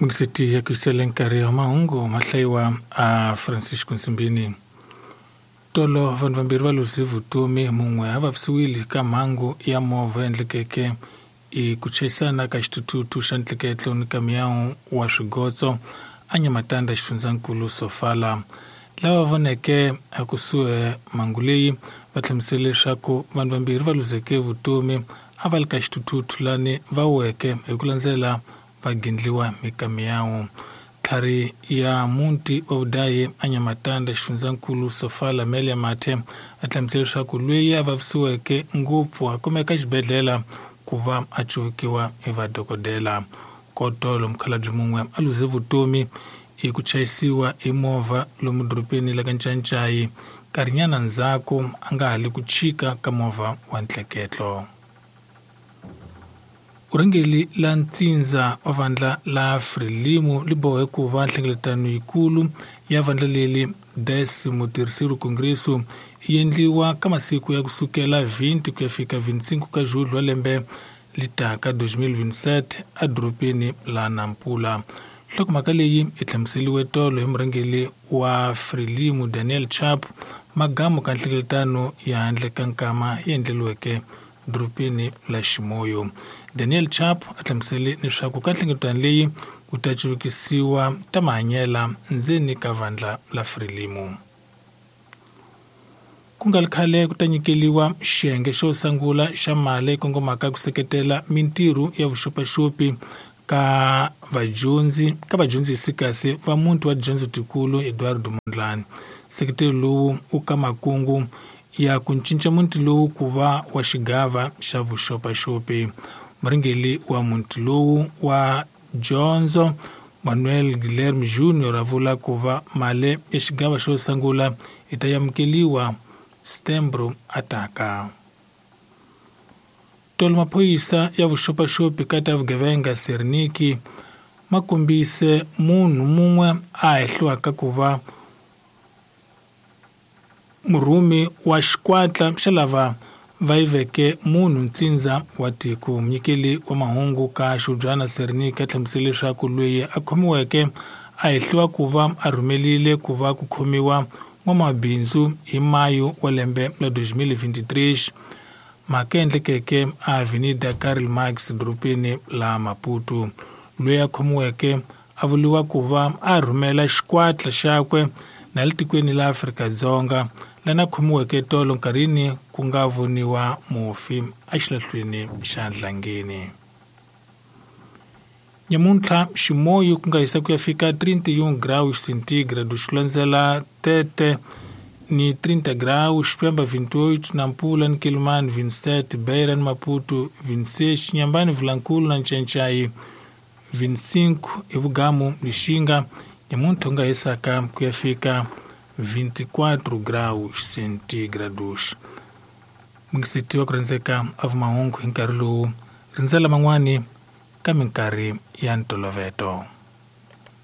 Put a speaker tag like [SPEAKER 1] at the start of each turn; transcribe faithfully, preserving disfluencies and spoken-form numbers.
[SPEAKER 1] Mingiseti ya kuisele nkarhi wa mahungu mahlayiwa a Francisco Nsimbini. Tolo vanhu vambirhi va luze vutomi, mun'we a vavisiwile ka mhangu ya movha endlekeke i ku chayisana ka xithuthuthu xa ntleketlo ni kamiyawu wa swigotso a Nyamatanda xifundzankulu Sofala. Lava voneke ekusuhi mhangu leyi va hlamusele leswaku vanhu vambirhi va luzeke vutomi a va li ka xithuthuthu lani va weke hi ku landzela va gindliwa hi kamiyawu. Tlhari ya muti wa vudayi a Nyamatanda xifundzankulu Sofala Melia Mathe a hlamusele leswaku loyi a vavisiweke ngopfu a kumeka xibedhlele ku va a cuvukiwa hi vadokodela. Kotolo mukhalabye mun'we a luze vutomi hi ku chayisiwa hi movha lomu dorobeni la ka Ncancai nkarhinyana ndzhaku a nga ha li ku chika ka movha wa ntleketlo. Urhengeli la ntsindza wa vandla la Frelimo li bohe ku va nhlengeletano yikulu ya vandla leli décimo terceiro Congresso yi endliwa ka masiku ya kusukela vinte ku ya fika vinte e cinco ka julho wa lembe litaka dois mil vinte e sete edorobeni la Nampula. Nhlokomhaka leyi yi hlamuseriwe tolo hi murhangeri wa Frelimo Daniel Chapo magamu ka nhlengeletano ya handle ka nkama yi endleriweke dorobeni la Ximoyo. Daniel Chapo a hlamusele leswaku ka nhlengeletano leyi ku ta cuvukisiwa ta mahanyela ndzeni ka vandla la Frelimo. Ku nga ri khale ku ta nyikeliwa xiyenge xo sungula xa mali kongomaka ku seketela mintirho ya vuxopaxopi ka vadyondzi ka vadyondzisi kasi va muti wa dyondzo tikulu Eduardo Mondlane. Nseketelo lowu u ka makungu ya ku cinca muti lowu ku va wa xigava xa vuxopaxopi. Murhangeri wa muti lowu wa dyondzo Manuel Guilherme Junior a vula ku va mali ya xigava xo sungula yi ta amukeriwa Setembro ataka. Tolo maphorisa ya vuxopaxopi ka ta vugevenga Serniki ma kombise munhu mun'we a hehliwaka ku va murhumi wa xikwatla xa lava va yiveke munhu ntsindza wa tiko. Munyikeli wa mahungu ka Xubyana Serniki a hlamusele leswaku loyi a khomiweke a hehliwa ku va a rhumelile ku va ku khomiwa n'wamabindzu hi mayu wa lembe la dois mil vinte e três mhaka endlekeke a Avenida Karl Marx dorobeni la Maputo. Loyi a khomiweke a vuriwa ku va a rhumela xikwatla xakwe na le tikweni la Afrika-Dzonga lana khomiweke tolo nkarhini ku nga voniwa mufi exilahlweni xa Nhlangeni. Nyamuntlha ximoyo ku nga hisa ku ya fika trinta e um graus centígrados ku landzela Tete ni trinta graus, Pemba vinte e oito, Nampula ni Quelimane vinte e sete, Beira ni Maputo vinte e seis, Inhambane Vilankulo na Ncancai vinte e cinco, Evugamu Lixinga nyamuntlha ku nga hisaka ku ya fika vinte e quatro graus centígrados. Mingiseti wa ku rhandzeka a vumahungu hi nkarhi lowu rindzela man'wani ka minkarhi ya ntoloveto.